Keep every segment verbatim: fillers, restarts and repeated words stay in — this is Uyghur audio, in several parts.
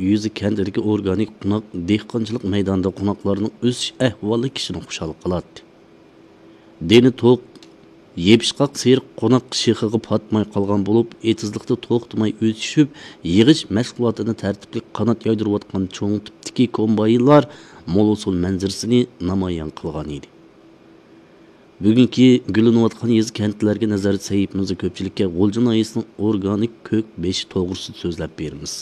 يېزا كەنتىدىكى ئورگانىك قوناق دېھقانچىلىق مەيدانىدا قوناقلارنىڭ ئۆسۈش ئەھۋالى كىشىنى خۇشال قىلاتتى. دېنى توق، يېپىشقاق سېرىق قوناق شېخىغا پاتماي قالغان بولۇپ، ئېتىزلىقتا توختىماي ئۆسۈشۈپ، يىغىش مەشغۇلاتىنى تەرتىپلىك قانات يايدۇرۇۋاتقان چوڭ تىپتىكى كومباينلار مول ھوسۇل مەنزىرىسىنى نامايان قىلغان ئىدى. بۈگۈنكى گۈللىنىۋاتقان يېزا كەنتلەرگە نەزەر سەھىپىمىزدە كۆپچىلىككە غۇلجا ناھىيەسىنىڭ ئورگانىك كۆك بېشى توغرىسىدا سۆزلەپ بېرىمىز.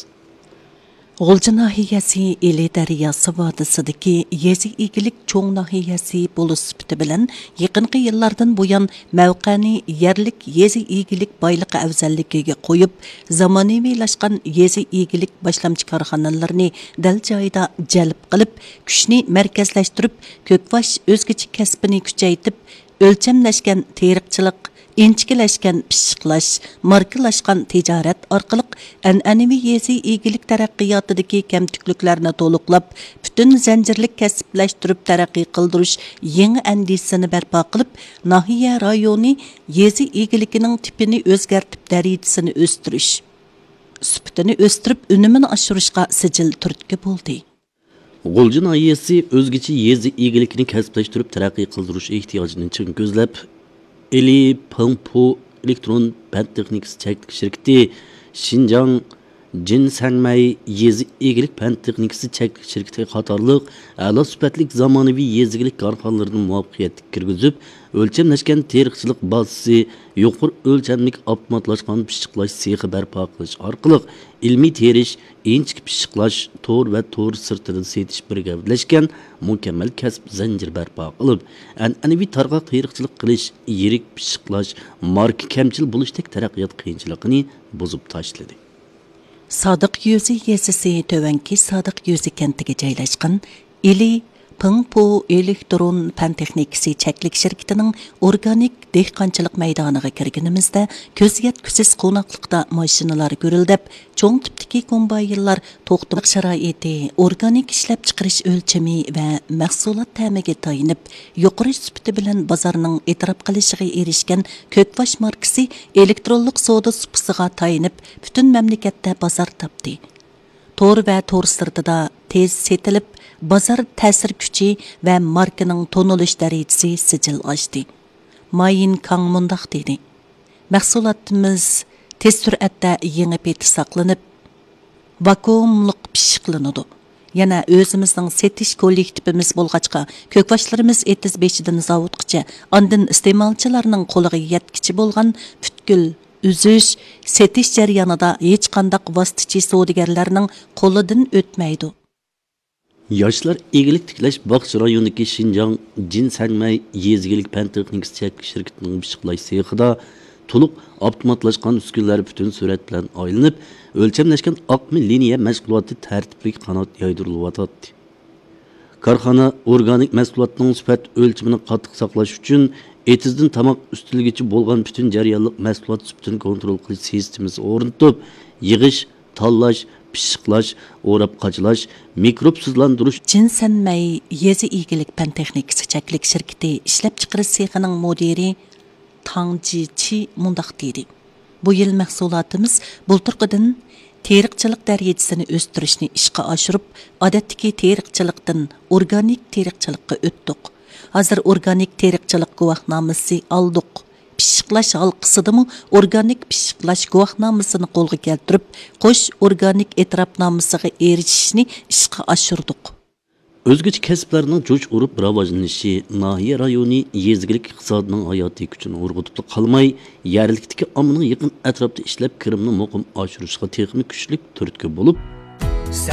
غۇلجا ناھىيەسى ئىلى دەرياسى ۋادىسىدىكى يېزا ئىگىلىك چوڭ ناھىيەسى بولۇش سۈپىتى بىلەن، يېقىنقى يىللاردىن بۇيان مەۋقەنى يەرلىك يېزا ئىگىلىك بايلىقى ئەۋزەللىكىگە قويۇپ، زامانىۋىلاشقان يېزا ئىگىلىك باشلامچى كارخانىلىرىنى دەل جايىدا جەلپ قىلىپ، كۈچنى مەركەزلەشتۈرۈپ، كۆكباش ئۆزگىچە كەسپىنى كۈچەيتىپ، ئۆلچەملەشكەن تېرىقچىلىق، ئىنچىكىلەشكەن پىششىقلاش، ماركىلاشقان تىجارەت ئارقىلىق ئەنئەنىۋى يېزا ئىگىلىك تەرەققىياتىدىكى كەمتۈكلۈكلەرنى تولۇقلاپ، پۈتۈن زەنجىرلىك كەسىپلەشتۈرۈپ تەرەققىي قىلدۇرۇش يېڭى ئەندىزىسىنى بەرپا قىلىپ، ناھىيە رايونى يېزا ئىگىلىكىنىڭ تىپىنى ئۆزگەرتىپ، دەرىجىسىنى ئۆستۈرۈش، سۈپىتىنى ئۆستۈرۈپ، ئۈنۈمىنى ئاشۇرۇشقا سىجىل تۈرتكە بولدى. غۇلجا ناھىيەسى ئۆزگىچە يېزا ئىگىلىكىنى كەسىپلەشتۈرۈپ تەرەققىي قىلدۇرۇش ئېھتىياجىنى چىڭ كۆزلەپ، ئىلى پېڭپۇ ئېلېكترون پەن تېخنىكىسى چەكلىك شىركىتى شىنجاڭ جىنسەڭمەي يېزا ئىگىلىك پەن تېخنىكىسى چەكلىك شىركىتى قاتارلىق ئەلا سۈپەتلىك زامانىۋى يېزا ئىگىلىك كارخانىلىرىنى مۇۋەپپەقىيەتلىك كىرگۈزۈپ، ئۆلچەملەشكەن تېرىقچىلىق بازىسى، يۇقىرى ئۆلچەملىك ئاپتوماتلاشقان پىششىقلاش سېخى بەرپا قىلىش ئارقىلىق، ئىلمىي تېرىش، ئىنچىكە پىششىقلاش، تور ۋە تور سىرتىدىن سېتىش بىر گەۋدىلەشكەن مۇكەممەل كەسىپ زەنجىرى بەرپا قىلىپ، ئەنئەنىۋى تارغاق تېرىقچىلىق قىلىش، يىرىك پىششىقلاش، ماركا كەمچىل بولۇشتەك تەرەققىيات قىيىنچىلىقىنى بۇزۇپ تاشلىدى. سادىق يۈزى يېزىسى تۆۋەنكى سادىق يۈزى كەنتىگە جايلاشقان ئىلى پېڭپۇ ئېلېكترون پەن تېخنىكىسى چەكلىك شىركىتىنىڭ ئورگانىك دېھقانچىلىق مەيدانىغا كىرگىنىمىزدە، كۆز يەتكۈسىز قوناقلىقتا ماشىنىلار گۈرۈلدەپ، چوڭ تىپتىكى كومباينلار توختىماق شارائىتى، ئورگانىك ئىشلەپچىقىرىش ئۆلچىمى ۋە مەھسۇلات تەمىگە تايىنىپ، يۇقىرى سۈپىتى بىلەن بازارنىڭ ئېتىراپ قىلىشىغا ئېرىشكەن كۆكباش ماركىسى ئېلېكترونلۇق سودا سۇپىسىغا تايىنىپ، پۈتۈن مەملىكەتتە بازار تاپتى. تور ۋە تور سىرتىدا تېز سېتىلىپ، بازار تەسىر كۈچى ۋە ماركىنىڭ تونۇلۇش دەرىجىسى سىجىل ئاشتى. ما يىنكاڭ مۇنداق دېدى: مەھسۇلاتىمىز تېز سۈرئەتتە يېڭى پېتى ساقلىنىپ، ۋاكۇئۇملۇق پىششىقلىنىدۇ. يەنە ئۆزىمىزنىڭ سېتىش كوللېكتىپىمىز بولغاچقا، كۆكباشلىرىمىز ئېتىز بېشىدىن زاۋۇتقىچە، ئاندىن ئىستېمالچىلارنىڭ قولىغا يەتكۈچە بولغان پۈتكۈل ئۈزۈش، سېتىش جەريانىدا ھېچقانداق ۋاسىتىچى سودىگەرلەرنىڭ قولىدىن ئۆتمەيدۇ. ياشلار ئىگىلىك تىكلەش باغچە رايونىدىكى شىنجاڭ جىنسەڭمەي يېزا ئىگىلىك پەن تېخنىكىسى چەكلىك شىركىتىنىڭ پىششىقلاش سېخىدا تولۇق ئاپتوماتلاشقان ئۈسكۈنىلەر پۈتۈن سۈرئەت بىلەن ئايلىنىپ، ئۆلچەملەشكەن ئاقما لىنىيە مەشغۇلاتى تەرتىپلىك قانات يايدۇرۇلۇۋاتاتتى. كارخانا ئورگانىك مەھسۇلاتنىڭ سۈپەت ئۆلچىمىنى قاتتىق ساقلاش ئۈچۈن، ئېتىزدىن تاماق ئۈستىلىگىچە بولغان پۈتۈن جەريانلىق مەھسۇلات سۈپىتىنى كونترول قىلىش سىستېمىسى ئورنىتىپ، يىغىش، تاللاش، پىششىقلاش، ئوراپ قاچىلاش، مىكروبسىزلاندۇرۇش. جىنسەنمەي يېزا ئىگىلىك پەن تېخنىكىسى چەكلىك شىركىتى ئىشلەپچىقىرىش سېخىنىڭ مۇدىرى تاڭ جىچى مۇنداق دېدى: بۇ يىل مەھسۇلاتىمىز بۇلتۇرقىدىن تېرىقچىلىق دەرىجىسىنى ئۆستۈرۈشنى ئىشقا ئاشۇرۇپ، ئادەتتىكى تېرىقچىلىقتىن ئورگانىك تېرىقچىلىققا ئۆتتۇق. ھازىر ئورگانىك تېرىقچىلىق گۇۋاھنامىسى ئالدۇق. پىششىقلاش ھالقىسىدىمۇ ئورگانىك پىششىقلاش گۇۋاھنامىسىنى قولغا كەلتۈرۈپ، قوش ئورگانىك ئېتىراپنامىسىغا ئېرىشىشنى ئىشقا ئاشۇردۇق. ئۆزگىچە كەسىپلەرنىڭ جۇش ئۇرۇپ راۋاجلىنىشى ناھىيە رايونى يېزا ئىگىلىك ئىقتىسادىنىڭ ھاياتىي كۈچىنى ئۇرغۇتۇپلا قالماي، يەرلىكتىكى ئاممىنىڭ يېقىن ئەتراپتا ئىشلەپ كىرىمىنى مۇقىم ئاشۇرۇشىغا تېخىمۇ كۈچلۈك تۈرتكە بولۇپ،